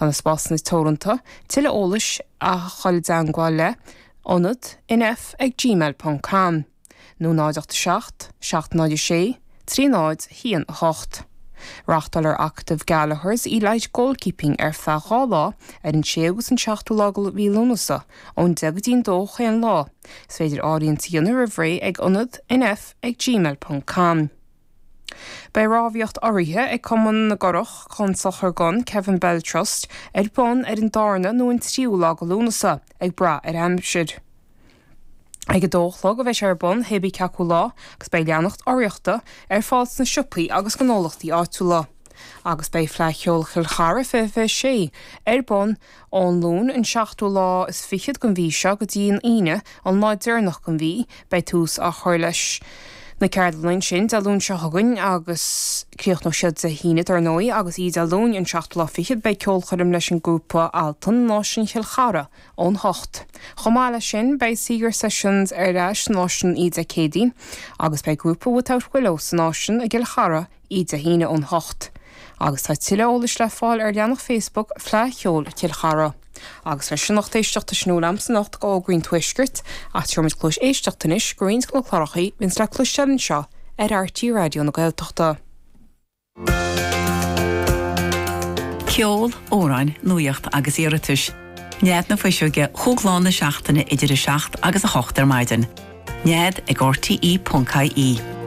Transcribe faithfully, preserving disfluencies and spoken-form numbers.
Tá na spásanna teoranta, tuilleadh eolais a dhul i dteagmháil le ionad nf ag gmail ponc com nó náid ocht a seacht, seacht náid a sé, trí náid haon a hocht. Reáchtáilfear Acadamh Gallaghers Elite Goalkeeping ar feadh dhá lá ar an séú agus an seachtú lá de mhí Lúnasa, ón deich go dtí an dó chaon lá. Is féidir áiríocht a dhéanamh roimh ré ag ionad nf ag gmail ponc com. Beidh rámhaíocht urraithe ag Cumann na gCurach chun Sochar don Kevin Bell Trust ar bun ar an darna nó an tríú lá de Lúnasa, ag brath ar aimsir. Ag a dó a chlog a bheidh sé ar bun, hé bí cé acu lá, agus beidh leannacht urraíochta ar fáil sna siopaí agus gnólachtaí áitiúla. Agus beidh Fleadh Cheoil Chill Chartha fiche fiche sé ar bun ón Luan an seachtú lá is fichead den mhí seo go dtí an Aoine an lá deireanach den mhí. Beidh tús á chur leis na ceardlanna ansin Dé Luain seo chugainn agus críochnóidh siad Dé hAoine dar ndóigh agus oíche Dé Luain an seachtú lá fichead beidh ceolchoirm leis an ngrúpa Altan in Áislann Chill Chartha ón hocht. Chomh maith leis sin beidh Seeger Sessions ar ais san Áislann oíche Dé Céadaoin agus beidh grúpa Without Willow san Áislann i gCill Chartha oíche Dé hAoine ón hocht. Agus tá tuilleadh eolais le fáil ar leathanach Facebook Fleadh Cheoil Chill Chartha. Agus leis sin lucht éisteachta sin a bhfuil a'msa anocht d'fhógraí an Tuaiscirt, ach tabharfaimid cluas éisteachta anois go roinnt de na cláracha a bhíonns le cloisteáil anseo ar RTÉ Raidió na Gaeltachta. Ceol, amhráin, nuacht agus iarratais. Nead na Fuiseoige chúig lá na seachtaine idir a seacht agus a hocht ar maidin. Nead ag RTE.ie.